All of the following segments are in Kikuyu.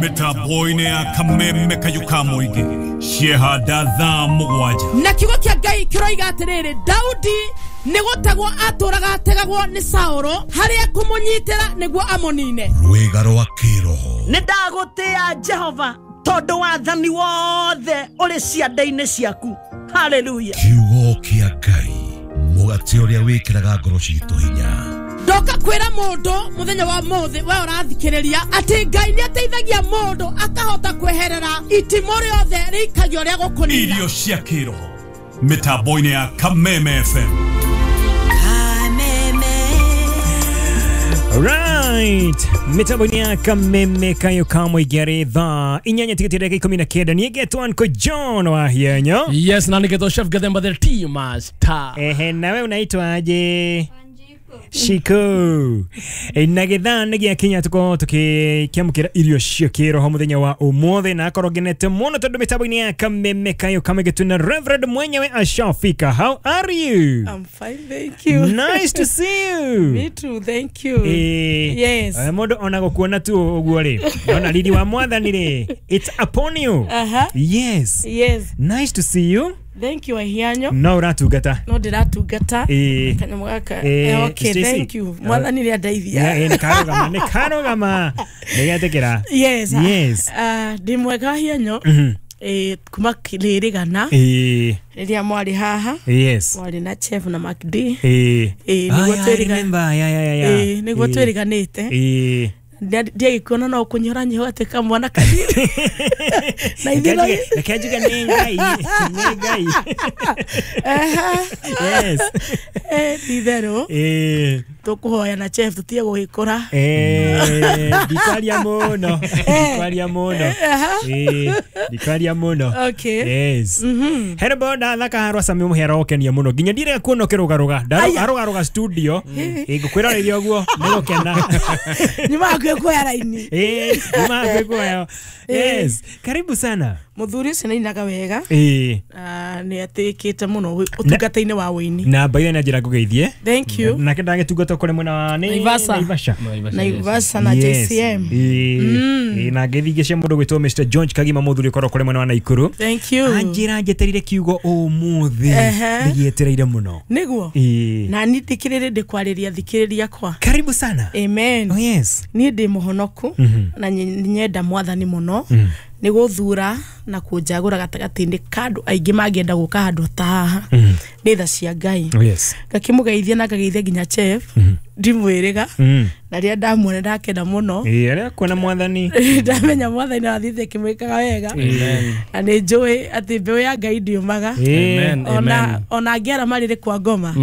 Mĩtambo-inĩ ya Kameme Kayuka Mũingĩ ciehanda thaa 7. Na kiugo kĩa Ngai kĩroiga atĩrĩrĩ, Daudi nĩ gũtegwo atũraga ategagwo nĩ Saũlũ harĩa kũmũnyitĩra nĩguo amũnine. Rwĩga rwa kĩroho. Nĩ ndagũtĩa Jehova tondũ wathani wothe ũrĩ ciande-inĩ ciaku. Hallelujah. Kiugo kĩa Ngai, mũgate ũrĩa wĩkĩraga ngoro citũ hinya. Ndoka kwĩra mũndũ mũthenya wa mũthĩ we ũrathikĩrĩria atĩ Ngai nĩ ateithagia mũndũ akahota kweherera itimũ rĩothe rĩikagio rĩa gũkũnina. Irio cia kĩroho mĩtambo-inĩ ya Kameme FM. Right, mitambo-inĩ ya Kameme Kayuka Mũingĩ arĩ thaa 8:19. Niĩ ngetwo Uncle John wa Hienyo. Yes, na nĩgetwo Chef Gathemba the tea master. Ehe, nawe unaitwa aje? Shiko. Na gĩthaa nĩ gĩakinya tũkorwo tũkĩamũkĩra irio cia kĩroho mũthenya wa ũmũthĩ, na akorwo ngenete mũno tondũ mĩtambo-inĩ ya Kameme Kayuka Mũingĩ tuna Reverend mwenyewe ashafika. How are you? I'm fine, thank you. Nice to see you. Me too, thank you. Yes. Mũndũ ona gũkuona tu ũguo rĩ, ona riri wa mwathani rĩ, it's upon you. Yes. Yes. Nice to see you. Thank you, Ahianyo. No ũratungata. No ndĩratungata. Kanyamũ gaka. Okay, thank you. Mwathani nĩ andeithia. Nĩ karũgama, nĩ karũgama. Nĩ getĩkĩra. Yes. Yes. Ndĩ mwega Ahianyo. Kuma rĩrĩgana. Rĩrĩa mwarĩ haha. Yes. Mwarĩ na Chef na Mark D. Nĩguo twĩrĩganĩte. Nĩguo twĩrĩganĩte. Ndiagĩkuona no kũnyora nyiho atĩ kamwana kanini. Na ithuĩ reke njuge nĩ Ngai, nĩ Ngai. Yes. Ti itherũ. Tũkũhoya na Chef tũtige gũgĩkũra. Ndikwaria mũno. Ndikwaria mũno. Ndikwaria mũno. Okay. Yes. Hena bonda thaka harwa Sami mũhera ũkenia mũno nginya ndirega kuona ũkĩrũgarũga. Arũgarũga studio. Ngũkwĩra rĩrĩa ũguo nĩ gũkena. Nyuma hakuhĩ kuoya raini. Nyuma hakuhĩ kuoya. Yes. Karibu sana. Mũthuri ũcio nĩainaga wega. Nĩ atĩkĩte mũno ũtungata-inĩ wa ũini. Na baithe na njĩra ngũgeithie. Thank you. Nake ndagĩtungata kũrĩ mwena wa Naivasha. Naivasha na JCM. Na ngeithi cia mũndũ gwĩtwo Mr George Kagima mũthuri ũkorwo kũrĩ mwena wa Naikuru. Thank you. Anjĩra njetereire kiugo ũmũthĩ. Ndĩgĩetereire mũno. Nĩguo. Na niĩ ndikĩrĩrĩ ndĩkwarĩria thikĩrĩria kwa. Karibu sana. Amen. Oh yes. Niĩ ndĩ mũhonoku na nyenda mwathani mũno. Nĩ gũthura na kũnjagũra gatagatĩ-inĩ ka andũ aingĩ mangĩenda gũka handũ ta haha. Nĩ tha cia Ngai. Yes. Ngakĩmũgeithia na ngageithia nginya Chef. Ndimwĩrĩga. Na rĩrĩa ndamuona ndakena mũno. Rĩrĩa kuona mwathani. Ndamenya mwathani athiĩte akĩmwĩkaga wega. Na nĩ njũĩ atĩ mbeũ ya Ngai ndĩũmaga. Ona angĩara marĩrĩ kwa ngoma,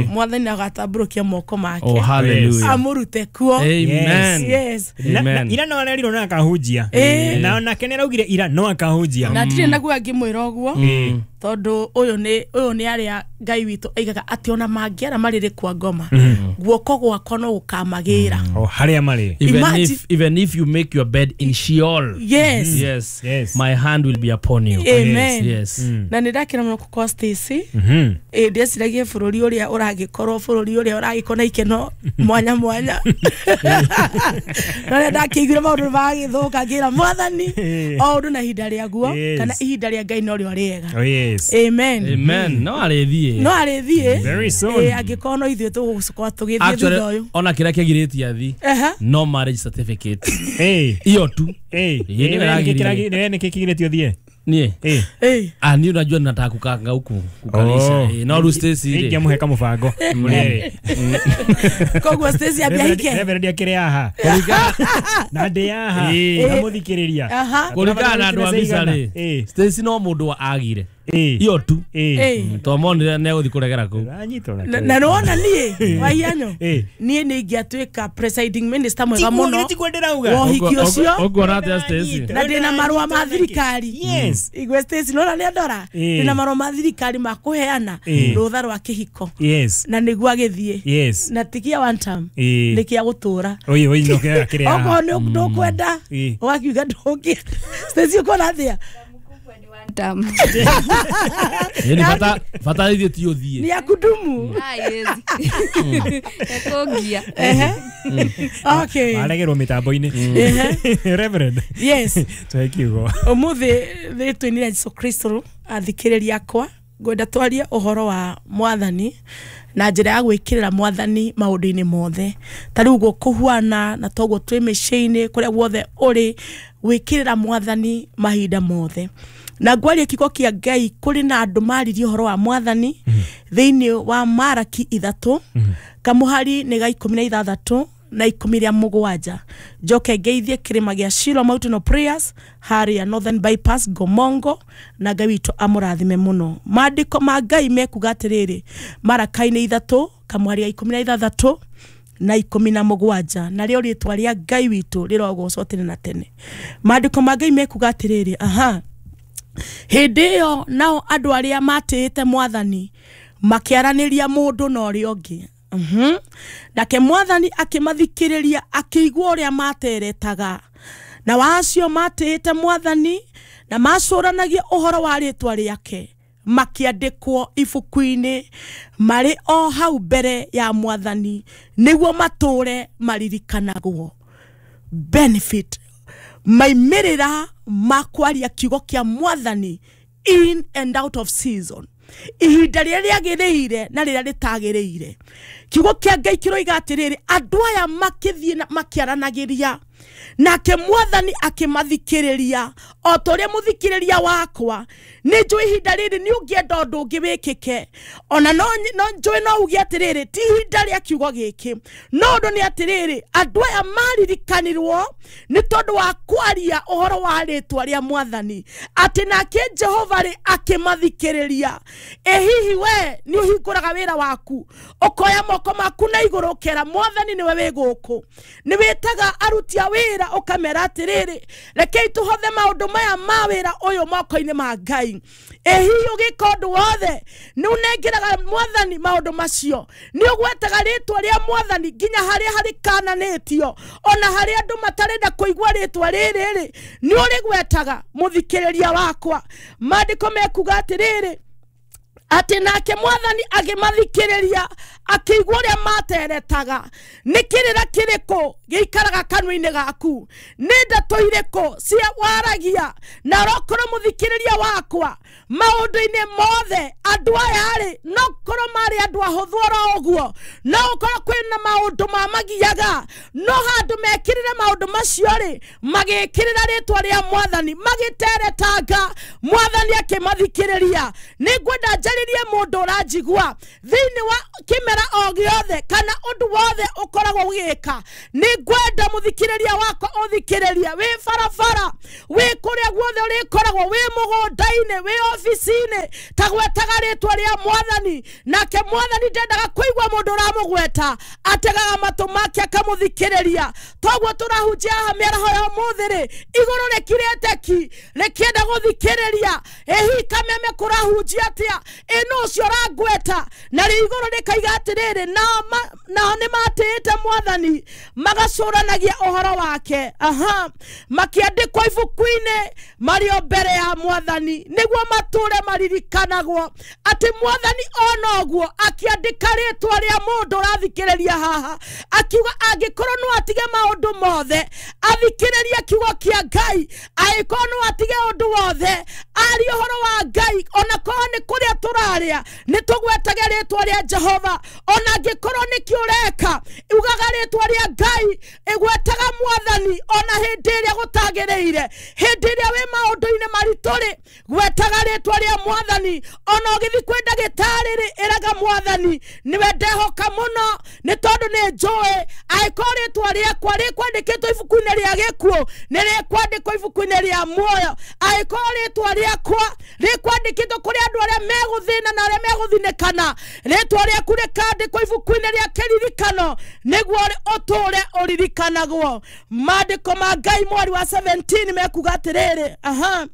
mwathani agatambũrũkia moko make. Oh, hallelujah. Amũrute kuo. Amen. Yes. Ira no arerirwo na akahunjia. Na onake nĩ araugire ira no akahunjia. Na ndirĩ naguo angĩmwĩra ũguo. Tondũ ũyũ nĩ arĩa Ngai witũ aigaga atĩ ona mangĩara marĩrĩ kwa ngoma, guoko gwakwa no gũkamagĩra. O harĩa marĩ. Even if you make your bed in Sheol. Yes. Yes. Yes. My hand will be upon you. Amen. Yes. Na nĩ ndakena mũno gũkorwo Stacy. Ndĩeciragia bũrũri ũrĩa ũragĩkorwo bũrũri ũrĩa ũragĩkorwo na ikeno mwanya mwanya. Na rĩrĩa ndakĩiguire maũndũ magĩthũka ngĩra mwathani o ũndũ na ihinda rĩaguo kana ihinda rĩa Ngai no rĩo rĩega. Oh yes. Amen. Amen. No arĩthiĩ. No arĩthiĩ. Very soon. Angĩkorwo no ithuĩ tũgũkorwo tũgĩthiĩ thutha ũyũ. Ona kĩrĩa kĩagirĩtie athi. No marriage certificate. Iyo tu. Nĩ kĩgirĩtie ũthiĩ? Niĩ. Niĩ unajua nataka kukanga huku kukalisha. No rĩu Stacy rĩ. Ingĩamũhe kamũbango. Koguo Stacy ambia hike. Reverend akĩrĩ haha. Na ndĩ haha. Ndamũthikĩrĩria. Kũringana na andũ a mbica rĩ, Stacy no mũndũ agire. Iyo tu. Twamonire nĩ egũthiĩ kũregera kũu. Na nĩwona niĩ Wahianyo, niĩ nĩ ingĩatuĩka presiding minister mwega mũno wa ũhiki ũcio. Ũkuona atĩa Stacy? Na ndĩna marũa ma thirikari. Yes. Igwe Stacy nona nĩ andora. Ndĩna marũa ma thirikari ma kũheana rũtha rwa kĩhiko. Yes. Na nĩguo agĩthiĩ. Yes. Na ti kĩa one term. Nĩ kĩa gũtũra. Oi oi no kĩa kĩrĩa. Okorwo nĩ ndũkwenda ũgakiuga ndũngĩenda. Stacy ũkuona atĩa? tamu. Ni bata bata ithuĩ ti ũthiĩ. Ni ya kudumu. Ah, yes. Ekogia. Okay. Aregerwo mitambo-inĩ. Reverend. Yes. Tũhe kiugo. Ũmũthĩ rĩtwa-inĩ rĩa Jesu Kristo athikĩrĩria akwa ngwenda twarie ũhoro wa mwathani na njĩra ya gwĩkĩrĩra mwathani maũndũ-inĩ mothe. Ta rĩu ũguo kũhuana na toguo twĩ mĩciĩ-inĩ kũrĩa guothe ũrĩ gwĩkĩrĩra mwathani mahinda mothe. Na ngwaria kiugo kĩa Ngai kũrĩ na andũ maririe ũhoro wa mwathani thĩinĩ wa Maraki 3 kamũhari nĩ ga 16 na 17. Njoke ngeithie kĩrĩma gĩa Shiloh Mountain of Prayers harĩa Northern Bypass Gomongo na Ngai witũ amũrathime mũno. Maandĩko ma Ngai mekuga atĩrĩrĩ Maraka-inĩ 3 kamũhari ga 16 na 17 na rĩo rĩtwa rĩa Ngai witũ rĩrogocwo tene na tene. Maandĩko ma Ngai mekuga atĩrĩrĩ aha hĩndĩ ĩyo nao andũ arĩa matĩĩte mwathani makĩaranĩria mũndũ na ũrĩa ũngĩ. Nake mwathani akĩmathikĩrĩria akĩigua ũrĩa materetaga na wacio matĩĩte mwathani na macũranagia ũhoro wa rĩtwa rĩake makĩandĩkwo ibuku-inĩ marĩ o hau mbere ya mwathani nĩguo matũre maririkanagwo. Benefit maimĩrĩra ma kwaria kiugo kĩa mwathani in and out of season ihinda rĩrĩa rĩagĩrĩire na rĩrĩa rĩtagĩrĩire. Kiugo kĩa Ngai kĩroiga atĩrĩrĩ andũ aya makĩthiĩ na makĩaranagĩria nake mwathani akĩmathikĩrĩria o ta ũrĩa mũthikĩrĩria wakwa. Nĩ njũĩ ihinda rĩrĩ nĩ ũngĩenda ũndũ ũngĩ wĩkĩke ona no njũĩ no uge atĩrĩrĩ ti ihinda rĩa kiugo gĩkĩ no ũndũ nĩ atĩrĩrĩ andũ aya maririkanirwo nĩ tondũ wa kwaria ũhoro wa rĩtwa rĩa mwathani atĩ nake Jehova rĩ akĩmathikĩrĩria. Ĩ hihi we nĩ ũhingũraga wĩra waku ũkoya moko maku na igũrũ ũkera mwathani nĩwe wĩ gũkũ nĩ wĩtaga aruti a wĩra ũkamera atĩrĩrĩ rekei tũhothe maũndũ maya ma wĩra ũyũ moko-inĩ ma Ngai. Ĩ hihi ũgĩka ũndũ wothe nĩ ũnengeraga mwathani maũndũ macio nĩ ũgwetaga rĩtwa rĩa mwathani nginya harĩa harĩkananĩtio ona harĩa andũ matarenda kũigua rĩtwa rĩrĩ rĩ nĩ ũrĩgwetaga mũthikĩrĩria wakwa. Maandĩko mekuga atĩrĩrĩ atĩ nake mwathani agĩmathikĩrĩria akĩigua ũrĩa materetaga. Nĩ kĩrĩra kĩrĩkũ gĩikaraga kanua-inĩ gaku nĩ ndeto irĩkũ cia waragia na ũrokorwo mũthikĩrĩria wakwa maũndũ-inĩ mothe andũ aya rĩ no korwo marĩ andũ ahũthũ oro ũguo no ũkorwo kwĩna maũndũ mamagiaga no handũ mekĩrĩre maũndũ macio rĩ magĩkĩrĩra rĩtwa rĩa mwathani magĩteretanga mwathani akĩmathikĩrĩria. Nĩ ngwenda njarĩrie mũndũ ũranjigua thĩinĩ wa kĩmera o gĩothe kana ũndũ wothe ũkoragwo ũgĩka nĩ ngwenda mũthikĩrĩria wakwa ũthikĩrĩria wĩ barabara wĩ kũrĩa guothe ũrĩkoragwo wĩ mũgũnda-inĩ wĩ obici-inĩ ta gwetaga rĩtwa rĩa mwathani nake mwathani ndendaga kũigua mũndũ ũramũgweta ategaga matũ make akamũthikĩrĩria. Toguo tũrahunjia haha mĩaraho ya ũmũthĩ rĩ igũrũ rĩkirĩte ki rĩkĩenda gũthikĩrĩria. Ĩ hihi kameme kũrahunjia atĩa ĩ nũ ũcio ũrangweta na rĩ igũrũ rĩkaiga atĩrĩrĩ nao nĩ matĩĩte mwathani magacũranagia ũhoro wake aha makĩandĩkwo ibuku-inĩ marĩ o mbere ya mwathani nĩguo matũre maririkanagwo atĩ mwathani ona ũguo akĩandĩka rĩtwa rĩa mũndũ ũrathikĩrĩria haha akiuga angĩkorwo no atige maũndũ mothe athikĩrĩrie kiugo kĩa Ngai angĩkorwo no atige ũndũ wothe arie ũhoro wa Ngai ona korwo nĩ kũrĩa tũrarĩa nĩ tũgwetage rĩtwa rĩa Jehova ona angĩkorwo nĩkĩ ũreka ugaga rĩtwa rĩa Ngai ĩgwetaga mwathani ona hĩndĩ ĩrĩa gũtagĩrĩire hĩndĩ ĩrĩa wĩ maũndũ-inĩ maritũ rĩ gwetaga rĩtwa rĩa mwathani ona ũgĩthiĩ kwĩ ndagĩtarĩ rĩ ĩraga mwathani nĩwe ndehoka mũno nĩ tondũ nĩ njũĩ angĩkorwo rĩtwa rĩakwa rĩkwandĩkĩtwo ibuku-inĩ rĩa gĩkuũ nĩ rĩkwandĩkwo ibuku-inĩ rĩa muoyo angĩkorwo rĩtwa rĩakwa rĩkwandĩkĩtwo kũrĩ andũ arĩa megũthĩna na arĩa megũthinĩkana rĩtwa rĩaku rĩkandĩkwo ibuku-inĩ rĩa kĩririkano nĩguo ũtũre ũririkanagwo. Maandĩko ma Ngai mweri wa 17 mekuga atĩrĩrĩ aha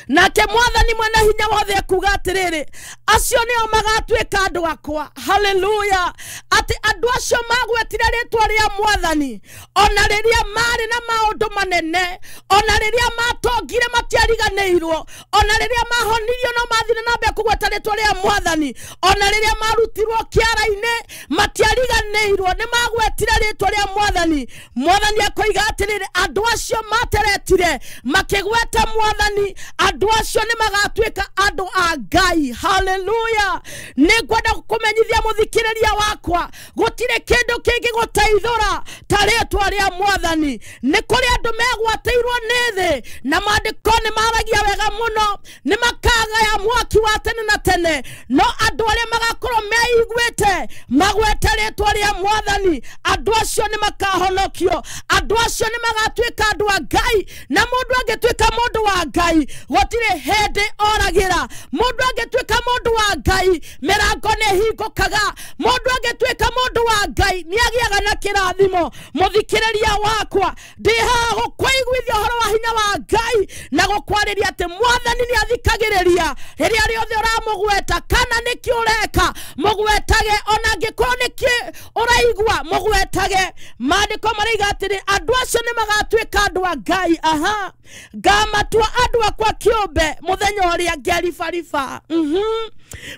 Nake mwathani mwene hinya wothe akuga atiriri, acio nio magatuika andu akwa. Haleluya. Ati andu acio magwetire ritwa ria mwathani ona riria mari na maundu manene, ona riria matongire matiariganĩirwo, ona riria mahonirio no mathire na mbere kugweta ritwa ria mwathani, ona riria marutirwo kiara-inĩ matiariganĩirwo, nĩ magwetire ritwa ria mwathani. Mwathani akoiga atiriri, andu acio materetire makigweta mwathani, andu acio nĩ magatuĩka andu a Ngai. Haleluya. Nĩ ngwenda kũmenyithia mũthikĩrĩria wakwa, gũtirĩ kĩndũ kĩngĩgũteithũra ta rĩtwa rĩa mwathani. Nĩ kũrĩ andũ megwatĩirwo nĩ thĩ, na maandĩko nĩ maragia wega mũno, nĩ makagaya mwaki wa tene na tene, no andũ arĩa magakorwo meiguĩte magwete rĩtwa rĩa mwathani, andũ acio nĩ makahonokio, andũ acio nĩ magatuĩka andũ a Ngai. Na mũndũ angĩtuĩka mũndũ wa Ngai, gũtirĩ hĩndĩ oragĩra. Mũndũ angĩtuĩka mũndũ wa Ngai, mĩrango nĩ ĩhingũkaga. Mũndũ angĩtuĩka mũndũ wa Ngai, nĩ agĩaga na kĩrathimo. Mũthikĩrĩria wakwa, ndĩ haha gũkũiguithia ũhoro wa hinya wa Ngai na gũkwarĩria atĩ mwathani nĩ athikagĩrĩria rĩrĩa rĩothe ũramũgweta, kana nĩkĩ ũreka mũgwetage, ona angĩkorwo nĩkĩ ũraigua mũgwetage. Maandĩko maraiga atĩrĩ, andũ acio nĩ magatuĩka andũ a Ngai. Aha, ngamatua andũ akwa kĩũmbe mũthenya ũrĩa ngeribariba.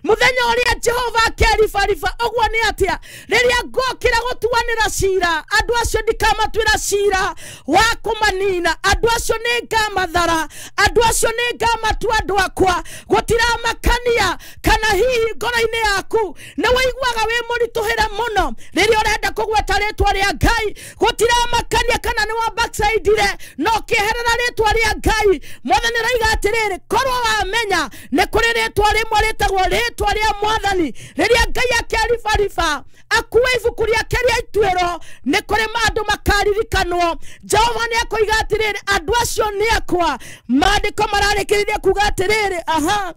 Mũthenya ũrĩa Jehova akeribariba. Ũguo nĩ atĩa? Rĩrĩa ngokĩra gũtuanĩra cira, andũ acio ndikamatuĩra cira wa kũmanina, andũ acio nĩ ngamathara, andũ acio nĩ ngamatua andũ akwa. Gũtiramakania kana hihi ngoro-inĩ yaku nĩ wĩiguaga wĩ mũritũhĩre mũno rĩrĩa ũrenda kũgweta rĩtwa rĩa Ngai. Gũtiramakania kana nĩ wa backslide-ire no ũkĩeherera rĩtwa rĩa Ngai. Mwathani araiga atĩrĩrĩ, korwo wamenya nĩ kũrĩ rĩtwa rĩmwe rĩtagwo rĩtwa rĩa mwathani, rĩrĩa Ngai akeribariba akue ibuku rĩake rĩa ituĩro, nĩ kũrĩ andũ makaririkanwo. Jehova nĩ akoiga atĩrĩrĩ, andũ acio nĩ akwa. Maandĩko mararĩkĩrĩria kuga atĩrĩrĩ, aha,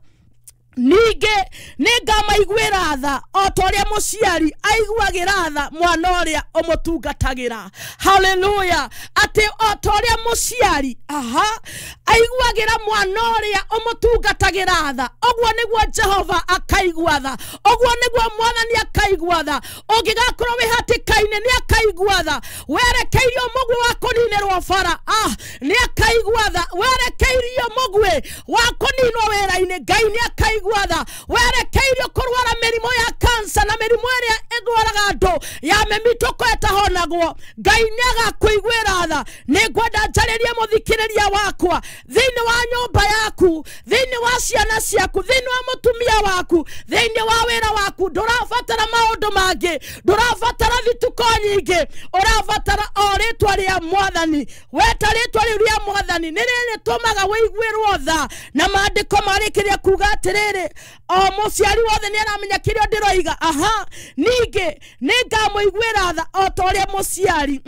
ningĩ nĩ ngamaiguĩra tha o ta ũrĩa mũciari aiguagĩra tha mwana ũrĩa ũmũtungatagĩra. Haleluya. Atĩ o ta ũrĩa mũciari, aha, aiguagĩra mwana ũrĩa ũmũtungatagĩra tha, ũguo nĩguo Jehova akaigua tha, ũguo nĩguo mwathani akaigua tha. Ũngĩgakorwo wĩ hatĩka-inĩ nĩ akaigua tha, werekeirio mũguĩ wa kũninĩrwo bara, nĩ akaigua tha, werekeirio mũguĩ wa kũninwo wĩra-inĩ, Ngai nĩ akaigua tha, werekeirio kũrwara mĩrimũ ya kansa na mĩrimũ ĩrĩa ĩrwaraga andũ ya mĩmitũko ĩtahonagwo, Ngai nĩ agakũiguĩra tha. Nĩ ngwenda njarĩrie mũthikĩrĩria wakwa, thĩinĩ wa nyũmba yaku, thĩinĩ wa ciana ciaku, thĩinĩ wa mũtumia waku, thĩinĩ wa wĩra waku, ndũrabatara maũndũ mangĩ, ndũrabatara thituko nyingĩ, ũrabatara o rĩtwa rĩa mwathani. Weta rĩtwa rĩu rĩa mwathani nĩ rĩrĩtũmaga wĩiguĩrwo tha. Na maandĩko marĩkĩrĩria kuga atĩrĩrĩ, o mũciari wothe nĩ aramenya kĩrĩa ndĩroiga. Aha, ningĩ nĩ ngamũiguĩra tha o ta ũrĩa mũciari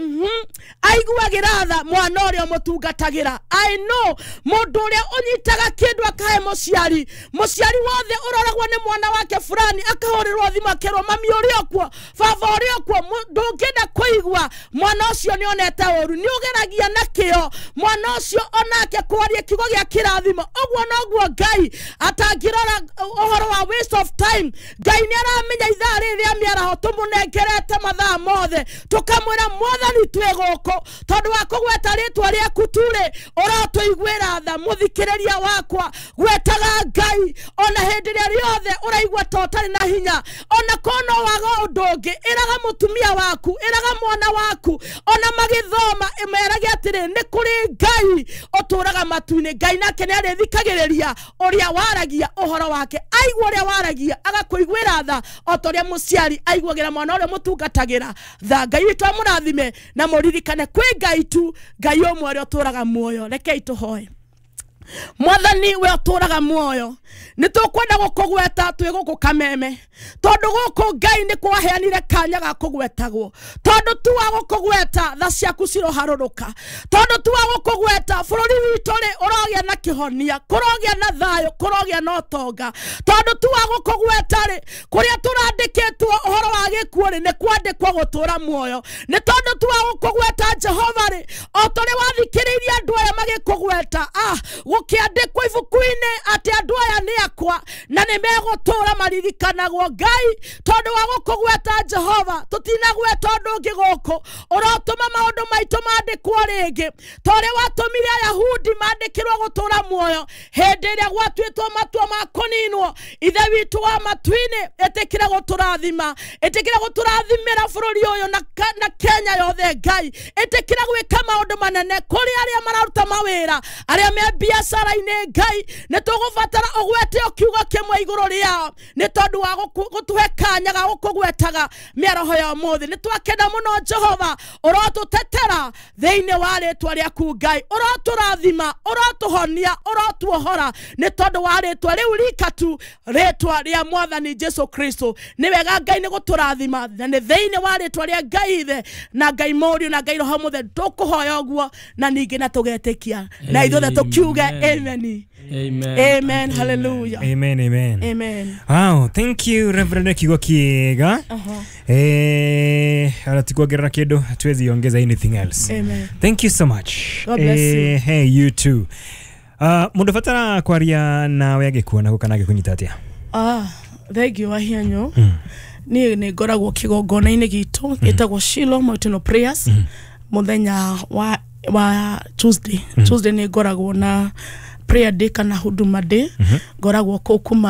aiguagĩra tha mwana ũrĩa ũmũtungatagĩra. I know mũndũ ũrĩa ũnyitaga kĩndũ akahe mũciari, mũciari wothe ũroragwo nĩ mwana wake fulani akahũrĩrwo thimũ akerwo mami ũrĩ o kuo, baba ũrĩ o kuo, ndũngĩenda kũigua mwana ũcio nĩ onete ũru. Nĩ ũgeragia na kĩo mwana ũcio onake kwaria kiugo gĩa kĩrathimo. Ũguo noguo Ngai atangĩrora ũhoro wa waste of time. Ngai nĩ aramenya ithaa rĩrĩ rĩa mĩaraho tũmũnengerete mathaa mothe, tũkamwĩra mwathani twĩ gũkũ tondũ wa kũgweta rĩtwa rĩaku tu-rĩ, ũrotũiguĩra tha. Mũthikĩrĩria wakwa, gwetaga Ngai ona hĩndĩ ĩrĩa rĩothe ũraigua ta ũtarĩ na hinya, ona korwo no waga ũndũ ũngĩ, ĩraga mũtumia waku, ĩraga mwana waku, ona magĩthoma ĩmerage atĩrĩ, nĩ kũrĩ Ngai ũtũraga matu-inĩ. Ngai nake nĩ arĩthikagĩrĩria ũrĩa waragia ũhoro wake, aigua ũrĩa waragia agakũiguĩra tha o ta ũrĩa mũciari aiguagĩra mwana ũrĩa mũtungatagĩra tha. Ngai witũ amũrathime na mũririkane kwĩ Ngai tu, Ngai ũmwe ũrĩa ũtũraga muoyo. Rekei tũhoe. Mwathani we ũtũraga muoyo, nĩ tũkwenda gũkũgweta twĩ gũkũ Kameme, tondũ gũkũ Ngai nĩ kwaheanire kanya ga kũgwetagwo, tondũ tu wa gũkũgweta tha ciaku ciroharũrũka, tondũ tu wa gũkũgweta bũrũri witũ rĩ ũrogĩa na kĩhonia, kũrogĩa na thayũ, kũrogĩa na ũtonga, tondũ tu wa gũkũgweta rĩ kũrĩa tũrandĩkĩtwo ũhoro wa gĩkuũ rĩ nĩ kwandĩkwo gũtũra muoyo, nĩ tondũ tu wa gũkũgweta Jehova rĩ o ta ũrĩa wathikĩrĩirie andũ aya magĩkũgweta gũgĩkũgweta gũkĩandĩkwo ibuku-inĩ atĩ andũ aya nĩ akwa na nĩ megũtũũra maririkanagwo. Ngai, tondũ wa gũkũgweta Jehova, tũtinagweta ũndũ ũngĩ gũkũ, ũrotũma maũndũ maitũ mandĩkwo rĩngĩ ta ũrĩa watũmire Ayahudi mandĩkĩrwo gũtũũra muoyo hĩndĩ ĩrĩa gwatuĩtwo matua ma kũninwo. Ithe witũ wa matu-inĩ, ĩtĩkĩra gũtũrathima, ĩtĩkĩra gũtũrathimĩra bũrũri ũyũ na Kenya yothe. Ngai, ĩtĩkĩra gwĩka maũndũ manene kũrĩ arĩa mararuta mawĩra, arĩa me biacara-inĩ. Ngai, nĩ tũgũbatara ũgwete o kiugo kĩmwe igũrũ rĩao nĩ tondũ wa gũtũhe kanya ga gũkũgwetaga mĩaroho ya ũmũthĩ. Nĩ twakena mũno Jehova, ũrotũtetera thĩinĩ wa rĩtwa rĩaku. Ngai, ũrotũrathima, ũrotũhonia, ũrotuohora nĩ tondũ wa rĩtwa rĩu rika tu, rĩtwa rĩa Mwathani Jesu Kristo. Nĩ wega Ngai nĩ gũtũrathima, na nĩ thĩinĩ wa rĩtwa rĩa Ngai Ithe na Ngai Mũriũ na Ngai Roho Mũtheru tũkũhoya ũguo na ningĩ na tũgetĩkia na ithuothe tũkiuge amen. Amen. Amen. Hallelujah. Amen, amen. Amen. Wow, thank you Reverend kiugo kiega. Ala tikuongerera kindu, hatuwezi ongeza anything else. Amen. Thank you so much. God bless you. Hey, you too. Mundu batara kwaria nawe agikuona kana agikunyita atia? Thank you wahianyo. Niĩ nĩ ngoragwo kĩgongona-inĩ gitũ gĩtagwo Shiloh Mountain of Prayers mũthenya wa Tuesday. Tuesday nĩ ngoragwo na prayer day kana huduma day, ngoragwo kũu kuma